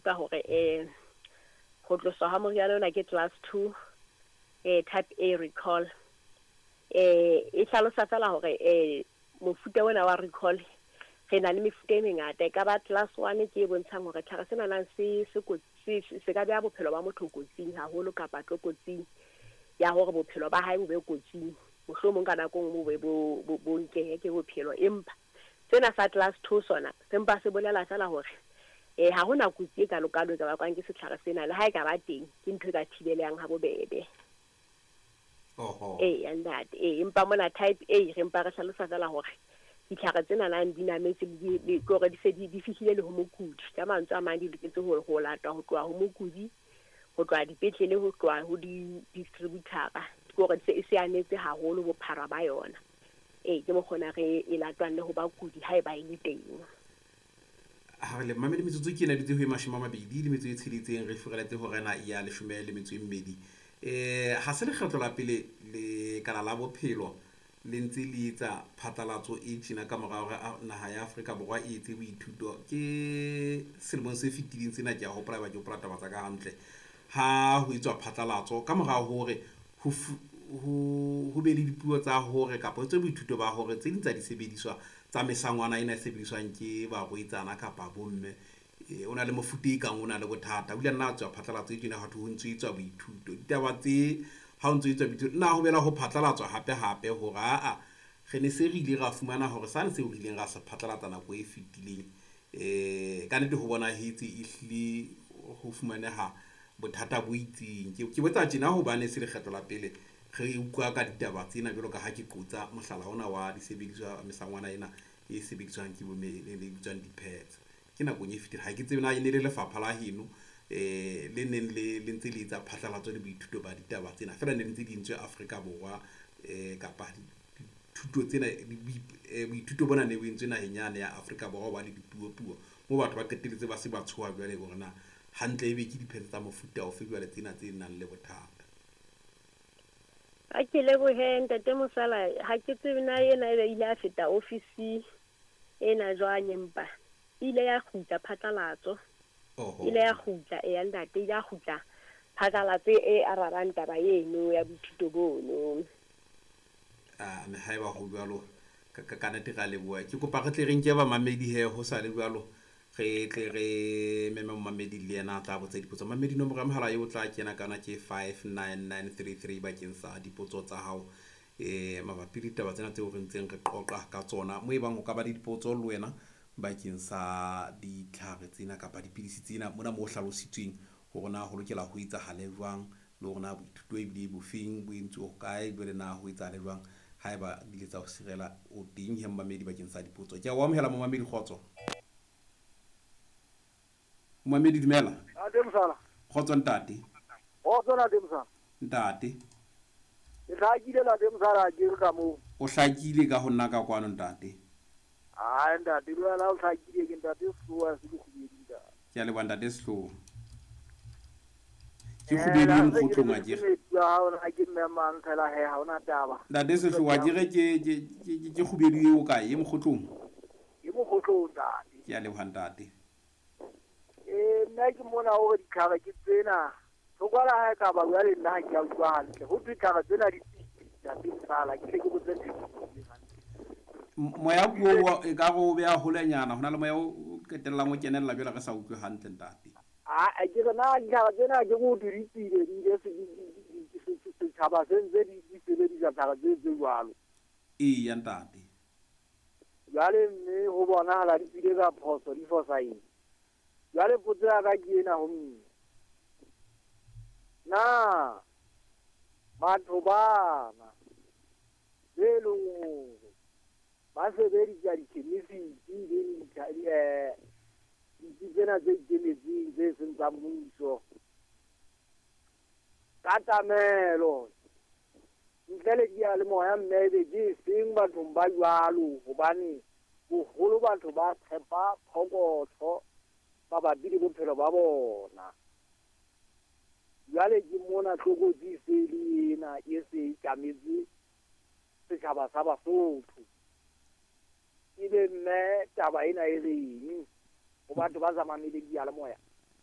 utlwa hore ho tloswa ha moriana ona ke class 2 type A recall. E hlalosa fela hore mofuta ona wa recall re na le mefuta e mengata. E ka ba class 1 ke e bontshang hore tlhare sena nang se se kotsi, se ka beha bophelo ba motho kotsing haholo kapa tlokotsing ya hore bophelo ba hae bo be kotsing. Mohlomong ka nako e nngwe bo be bo nkehe ke bophelo. Empa sena sa class 2 sona se mpa se bolela fela hore ha hona kotsi e kalokalo e ka bakwang ke setlhare sena, le ha e ka ba teng ke ntho e ka thibelehang ha bobebe. Ee, ntate. Ee, empa mona type A re mpa re hlalosa fela hore ditlhare tsena nang di nametse le ke hore di se di fihlile le ho mokudi. Ka mantswe a mang di loketse ho latwa ho tloha ho mokudi, ho tloha dipetlele, ho tloha ho di-distributor-a. Ke hore se e se anetse haholo bophara ba yona. Ee, ke mokgona re e latwang le ho bakudi haeba e le teng. Ha re le mamedi, metsotso ke ena dutse ho e 26, re furaletse hora ena ya 12. Ha se lekgetlo la pele le kala la bophelo le ntse le etsa phatlalatso e tjena ka mora hore naha ya Afrika Borwa e etse boithuto. Ke selemong se fetileng sena, ke a hopola, ba ke hopola taba tsa ka hantle, ha ho etswa phatlalatso ka mora hore ho be le dipuo tsa hore kapa ho etswe boithuto ba hore tse ding tsa disebediswa tsa mesangwana ena e sebediswang ke barwetsana kapa bomme o na le mofuta e kang o na le bothata. O ile nna a tswa phatlalatso e tjena, ha thwe ho ntso etswa boithuto. Ditaba tse ha ho ntso etswa boithuto, na ho bela ho phatlalatswa hape hape hore aa re ne se re ile ra fumana hore sane seo re ileng ra se phatlalatsa nako e fetileng, ka nnete ho bonahetse ehlile ho fumaneha bothata bo itseng. Ke botsa tjena hobane se lekgetlo la pele re utlwa ka ditaba tsena, jwalo ka ha ke qotsa mohlala ona wa disebediswa, mesangwana ena e sebediswang ke bomme e bitswang di-pads. Ke nakong e fetileng, ha ke tsebe na e ne le lefapha la heno le neng le ntse le etsa phatlalatso le boithuto ba ditaba tsena, feela ne ntse di entswe Afrika Borwa, kapa dithuto tsena, boithuto bona ne bo entswe naheng yane ya Afrika Borwa, ba le dipuo-puo moo batho ba qetelletse ba se ba tshoha jwale hore na hantle ebe ke di-pads tsa mofuta ofe jwale tsena tse nang le bothata. Ha ke lebohe ntate Mosala, ha ke tsebe na ena ebe ile a feta ofisi ena jwang, empa ile ya kgutla phatlalatso. Ile ya kgutla, eya ntate, ile ya kgutla phatlalatso e arabang taba eno ya boithuto bono. A me haeba ho jwalo, ka nnete re a leboha. Ke kopa re tle re nke bamamedi he, ho sa le jwalo re tle re meme momamedi le yena a tla botsa dipotso. Mamedi, nomoro ya mohala eo o tla kena ka yona ke 59933 bakeng sa dipotso tsa hao mabapi le ditaba tsena tseo re ntseng re qoqa ka tsona. Mo ebang o ka ba le dipotso le wena bakeng sa ditlhare tsena kapa dipidisi tsena, mona mo hlalositsweng hore na ho lokela ho etsahale jwang, le hore na boithuto ebile bofeng bo entswe hokae, jwale na ho etsahale jwang haeba di ile tsa ho sirela. O teng he momamedi bakeng sa dipotso. Ke a o amohela momamedi, kgotso. Momamedi, dumela. Ntate Mosala. Kgotso ntate. Kgotso ntate Mosala. Ntate. Ke hlakile ntate Mosala, ke re ka moo. O hlakile ka ho nna ka kwano ntate. Ai ntate, le wena o hlakile, ke ntate Sehloa se Lekgubedi ntate. Ke a leboha ntate Sehloa. Ke kgubedi e mokgotlong a kere. Ha ke mme mang fela he, ha hona taba. Ntate Sehloa, ke re ke kgubedi eo kae, e mokgotlong? Ke mokgotlong ntate. Ke a leboha ntate. Nna ke mona hore ditlhare ke tsena. Tlhokwala ha e ka ba jwale nna ha ke a utlwa hantle. Ho thwe ditlhare tsena di tswile, ntate Mosala, ke tle ke botse ntho e hantle. Moya puo e ka re o beha holenyana, hona le moya o qetellang o kenella jwale re sa utlwe hantle ntate. A ke re na ditlhare tsena ke go di tswile, di ile setjhaba se ntse di sebedisa ditlhare tse jwalo. Eya ntate. Jwale mme ho bonahala di tswile ka phoso, di fosahetse. Jwale potso ya ka ke ena ho mme. Na batho bana be leng hore ba sebedisa dikhemisiti le ditsi tsena tse ikemetseng tse seng tsa mmuso ka tlamelo ntle le diyalemoya, mme ebe ke seng bathong ba jwalo, hobane boholo batho ba tshepa phokotho mabapi le bophelo ba bona. Jwale ke mona tlokotsi se le ena e se e tjametse setjhaba sa Basotho. Ebe mme taba ena e reng ho batho ba sa mameleng diyalemoya?